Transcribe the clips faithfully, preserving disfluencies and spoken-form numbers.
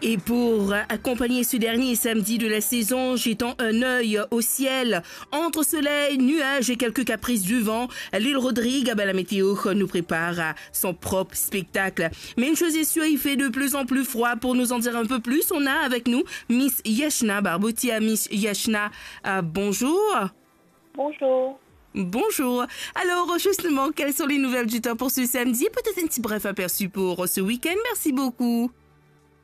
Et pour accompagner ce dernier samedi de la saison, jetant un œil au ciel, entre soleil, nuages et quelques caprices du vent, l'île Rodrigue, ah ben, la météo nous prépare à son propre spectacle. Mais une chose est sûre, il fait de plus en plus froid. Pour nous en dire un peu plus, on a avec nous Miss Yashna Barbotia. Miss Yashna, euh, bonjour. Bonjour. Bonjour. Alors, justement, quelles sont les nouvelles du temps pour ce samedi? Peut-être un petit bref aperçu pour ce week-end. Merci beaucoup.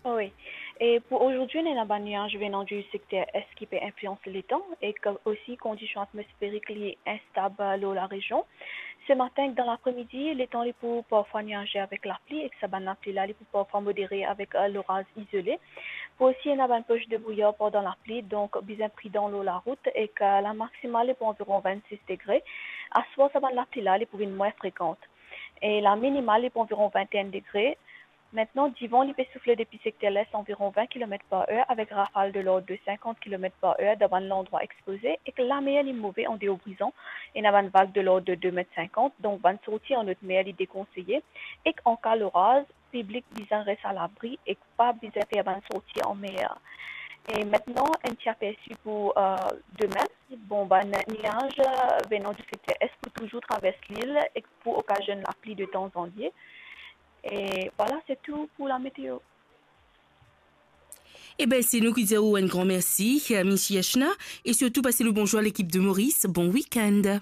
Oui. E pou azordi, nou ena bann niaz venan di sekter est ki pe inflians letan, ek osi kondision atmosferik li instab lor larezion. Ce matin ek dan lapre-midi, letan li pou parfwa niaze avek lapli, ek sa bann lapli la, li pou parfwa modere avek, euh, loraz izole. Pou osi ena bann poche de brouyar pandan lapli, donk bizin pridan lor larout, ek, euh, la maksimal li pou anviron vennsis degre. Aswar, sa bann lapli la, li pou vinn mwin frekan. E la minimal li pou anviron vinteenn degre. Aster, divan li pe soufle depi sekter les anviron vin kilomet par er, avek rafal de lord de sinkant kilomet par er dan bann landrwa expoze, ek lamer li move an deor Brizon, ena bann vag de lord de de met sinkant, donk bann sorti an lot mer li dekonseye, ek an ka loraz, piblik bizin res alabri ek pa bizin fer bann sorti an mer. E aster, enn ti apersi pou, euh, demin. Bon, bann niaz, euh, venan di sekter est pou touzour travers lil ek pou okazionn lapli de tanzantan. E vwala, se tou pou lameteo. Eben, se nou ki dir ou enn gran mersi, Miss Yashna, e sirtou pas le bonzour a lekip de Maurice. Bon week-end.